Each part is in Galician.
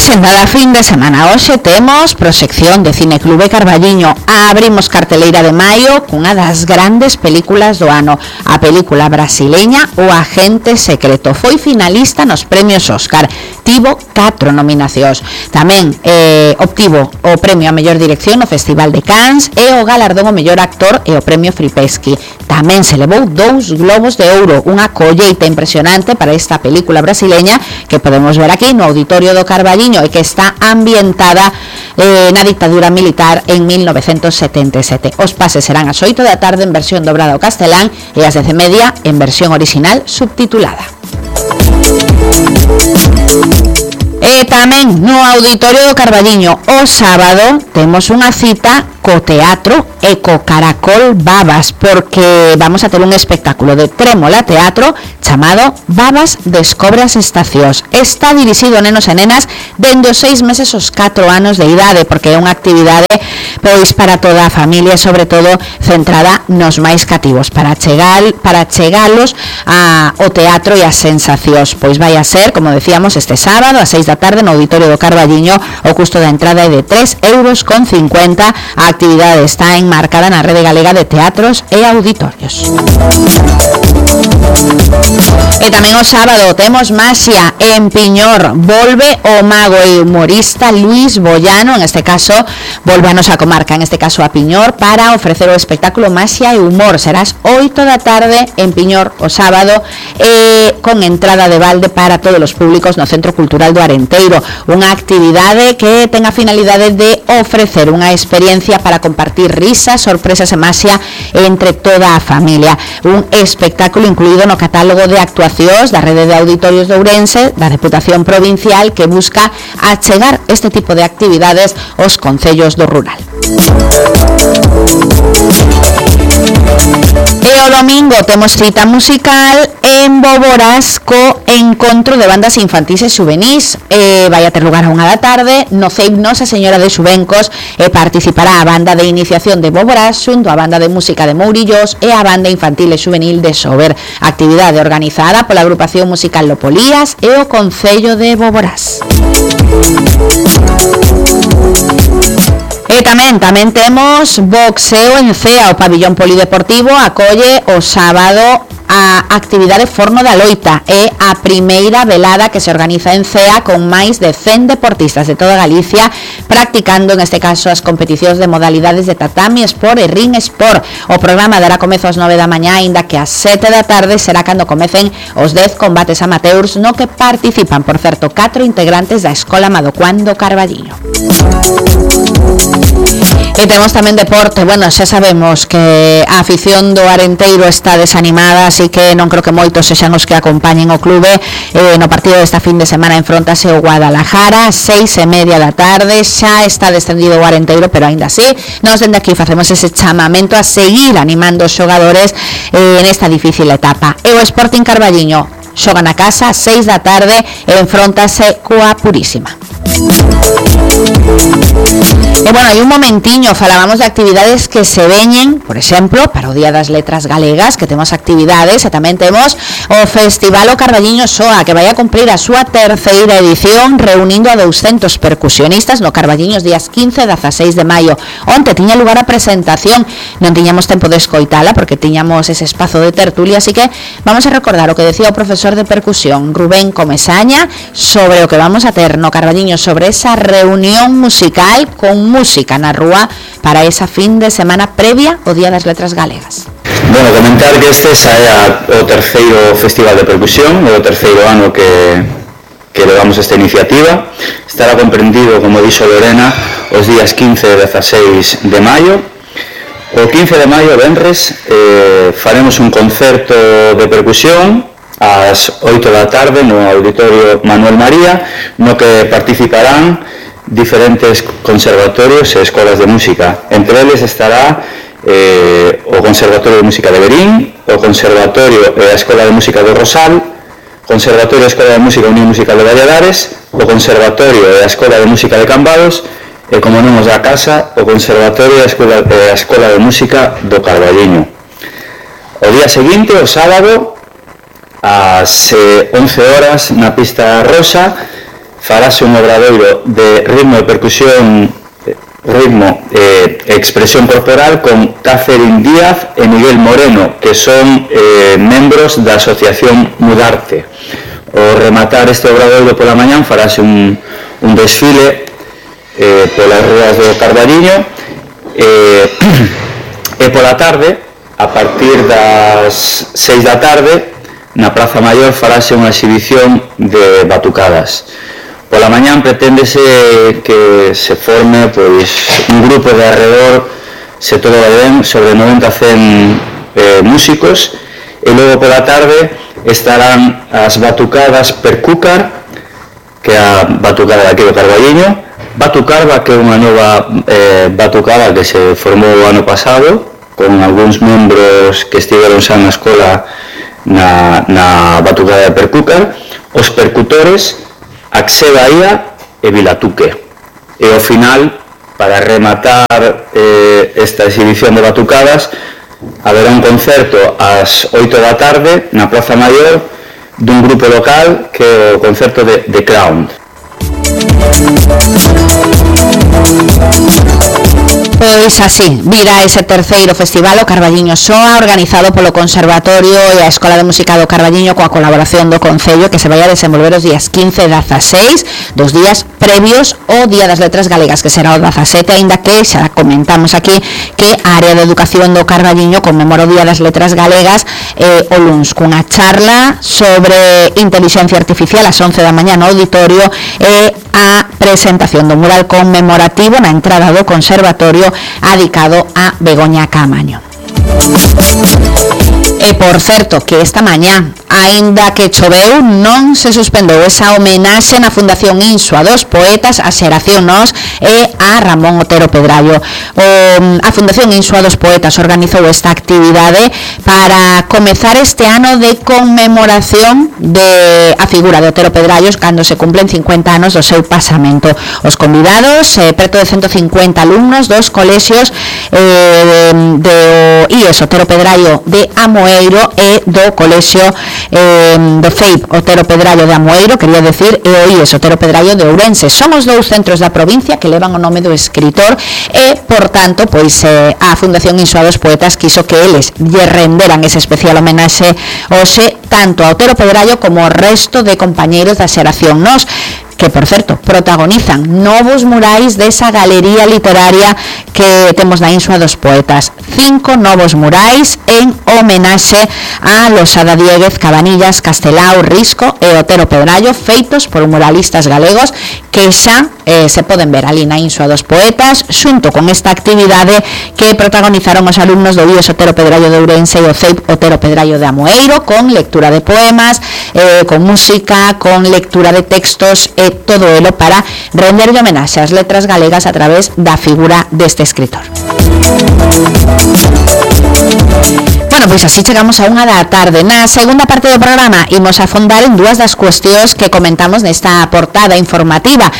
Presentada fin de semana. Hoxe temos proxección de Cineclube Carballiño. Abrimos carteleira de maio cunha das grandes películas do ano, a película brasileña O Agente Secreto. Foi finalista nos premios Óscar. Tivo 4 nominacións. Tamén obtivo o premio a mellor dirección no Festival de Cannes e o galardón ao mellor actor e o premio Fripeschi. Tamén se levou 2 globos de ouro, unha colleita impresionante para esta película brasileña que podemos ver aquí no Auditorio do Carballiño e que está ambientada na dictadura militar en 1977. Os pases serán ás 8 da tarde en versión dobrada ao castelán e ás 10:30 en versión original subtitulada. E tamén no Auditorio do Carballiño o sábado temos unha cita co teatro e co Caracol Babas, porque vamos a ter un espectáculo de Trémola Teatro chamado Babas descobre as estacións. Está dirixido a nenos e nenas dende os 6 meses aos 4 anos de idade, porque é unha actividade pois para toda a familia, sobre todo centrada nos máis cativos, para chegalos ao teatro e as sensacións. Pois vai a ser, como decíamos, este sábado a 6 da tarde no Auditorio do Carballiño. O custo da entrada é de 3,50 €. A actividade está enmarcada na Rede Galega de Teatros e Auditorios. E tamén o sábado temos Maxia en Piñor. Volve o mago e humorista Luis Bollano, en este caso volve a nosa comarca, en este caso a Piñor, para ofrecer o espectáculo Maxia e Humor. Será ás 8 da tarde en Piñor o sábado, con entrada de balde para todos os públicos no Centro Cultural do Arenteiro. Unha actividade que ten a finalidade de ofrecer unha experiencia para compartir risas, sorpresas e maxia entre toda a familia. Un espectáculo incluído no catálogo de actuacións da Rede de Auditorios de Ourense, da Deputación Provincial, que busca achegar este tipo de actividades aos concellos do rural. E o domingo temos cita musical en Boborás co encontro de bandas infantís e xuvenís. Vai a ter lugar a 1 da tarde no CEIP Nosa Señora de Xuvencos, e participará a banda de iniciación de Boborás xunto a banda de música de Mourillos e a banda infantil e xuvenil de Sober. Actividade organizada pola agrupación musical Lopolías e o Concello de Boborás. E tamén temos boxeo en Cea. O pabillón polideportivo acolle o sábado a actividade Forno da Loita. É a primeira velada que se organiza en Cea con máis de 100 deportistas de toda Galicia practicando, en este caso, as competicións de modalidades de tatami, sport e ring sport. O programa dará comezo ás 9 da mañá, aínda que ás 7 da tarde será cando comecen os 10 combates amateurs, no que participan, por certo, 4 integrantes da Escola Madocuán do Carballiño. E temos tamén deporte. Bueno, xa sabemos que a afición do Arenteiro está desanimada, así que non creo que moitos sexan os que acompañen o clube. No partido desta fin de semana enfrontase o Guadalajara, 6:30 da tarde. Xa está descendido o Arenteiro, pero aínda así, nós dende aquí facemos ese chamamento a seguir animando os xogadores nesta difícil etapa. E o Sporting Carballiño xoga na casa, 6 da tarde, e enfrontase coa Purísima. E bueno, hai un momentiño falábamos de actividades que se veñen, por exemplo, para o Día das Letras Galegas, que temos actividades, e tamén temos o Festival O Carballiño Soa, que vai a cumprir a súa 3ª edición, reunindo a 200 percusionistas no Carballiño os días 15 e 16 de maio. Onte tiña lugar a presentación, non tiñamos tempo de escoitala porque tiñamos ese espazo de tertulia, así que vamos a recordar o que decía o profesor de percusión Rubén Comesaña sobre o que vamos a ter no Carballiño, sobre esa reunión musical con música na rúa para esa fin de semana previa ao Día das Letras Galegas. Bueno, comentar que este xa é o 3º Festival de Percusión, é o 3º ano que levamos esta iniciativa. Estará comprendido, como dixo Lorena, os días 15 e 16 de maio. O 15 de maio, venres, faremos un concerto de percusión ás 8 da tarde no Auditorio Manuel María, no que participarán diferentes conservatorios e escolas de música. Entre eles estará o Conservatorio de Música de Berín, o Conservatorio e a Escola de Música do Rosal, Conservatorio e a Escola de Música Unión Musical de Valladares, o Conservatorio e a Escola de Música de Cambados, e, como non os da casa, o Conservatorio e a Escola de Música do Carballiño. O día seguinte, o sábado, ás 11 horas, na Pista Rosa, farase un obradoiro de ritmo e percusión, ritmo e expresión corporal con Catherine Díaz e Miguel Moreno, que son membros da asociación Mudarte. O rematar este obradoiro pola mañán farase un desfile polas ruas do Carballiño e pola tarde, a partir das 6 da tarde, na Praza Maior farase unha exhibición de batucadas. Pola mañán preténdese que se forme un grupo de alrededor, se todo vai ben, sobre 90-100 músicos, e logo pola tarde estarán as batucadas Percúcar, que é a batucada daqui do Carballiño, Batucarva, que é unha nova batucada que se formou o ano pasado, con algúns membros que estiveron xa na escola na batucada de Percúcar, os percutores Axé Bahía e Vilatuque. E ao final, para rematar esta exhibición de batucadas, haberá un concerto ás 8 da tarde na Praza Maior dun grupo local que é o concerto de The Crown. Pois así, vira ese terceiro festival o Carballiño Soa, organizado polo Conservatorio e a Escola de Música do Carballiño coa colaboración do Concello, que se vai a desenvolver os días 15 e 16, dos días previos ao Día das Letras Galegas, que será o 17, aínda que xa comentamos aquí que a área de educación do Carballiño conmemora o Día das Letras Galegas o luns, cunha charla sobre inteligencia artificial ás 11 da mañá no auditorio e a presentación do mural conmemorativo na entrada do Conservatorio adicado a Begoña Caamaño. E por certo, que esta mañá, aínda que choveu, non se suspendeu esa homenaxe na Fundación Insua dos poetas a Xeración Nós e a Ramón Otero Pedrallo. A Fundación Insua dos poetas organizou esta actividade para comezar este ano de conmemoración de a figura de Otero Pedrallo cando se cumplen 50 anos do seu pasamento. Os convidados, preto de 150 alumnos dos colexios do IES Otero Pedrallo de Amoeiro e do colexio do FEIP Otero Pedrallo de Amoeiro, quería decir, e o IES Otero Pedrallo de Ourense. Son os dous centros da provincia que levan o nome do escritor e, por tanto, pois a Fundación Insua dos Poetas quiso que eles lle renderan ese especial homenaxe hoxe tanto a Otero Pedrallo como ao resto de compañeiros da Xeración Nós, que, por certo, protagonizan novos murais desa galería literaria que temos na Insua dos Poetas. 5 novos murais en homenaxe a Losada Dieguez, Cabanillas, Castelao, Risco e Otero Pedrallo, feitos por muralistas galegos que xa se poden ver ali na Insua dos Poetas, xunto con esta actividade que protagonizaron os alumnos do IES Otero Pedrallo de Ourense e o CEIP Otero Pedrallo de Amoeiro, con lectura de poemas, con música, con lectura de textos e todo elo para renderlle homenaxe ás letras galegas a través da figura deste escritor. Bueno, pois así chegamos a 1 da tarde. Na segunda parte do programa imos afondar en dúas das cuestións que comentamos nesta portada informativa.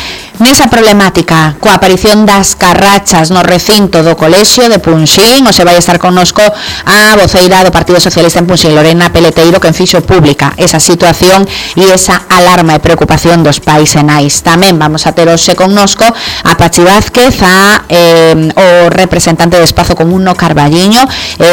Nesa problemática coa aparición das carrachas no recinto do colexio de Punxín, hoxe vai estar connosco a voceira do Partido Socialista en Punxín, Lorena Peleteiro, quen fixo pública esa situación e esa alarma e preocupación dos pais e nais. Tamén vamos a ter hoxe connosco a Pachi Vázquez, o representante de Espazo Común no Carballiño,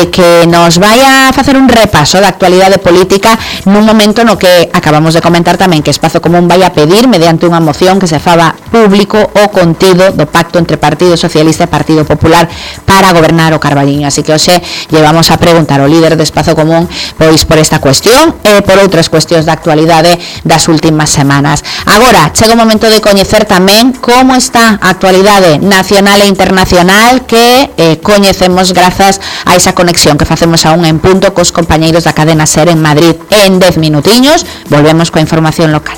que nos vai a facer un repaso da actualidade política nun momento no que acabamos de comentar tamén que Espazo Común vai a pedir, mediante unha moción, que se faga público o contido do pacto entre Partido Socialista e Partido Popular para gobernar o Carballiño. Así que hoxe llevamos a preguntar ao líder de Espazo Común pois por esta cuestión e por outras cuestións da actualidade das últimas semanas. Agora, chega o momento de coñecer tamén como está a actualidade nacional e internacional que coñecemos grazas a esa conexión que facemos a un en punto cos compañeiros da cadena SER en Madrid. En 10 minutiños volvemos coa información local.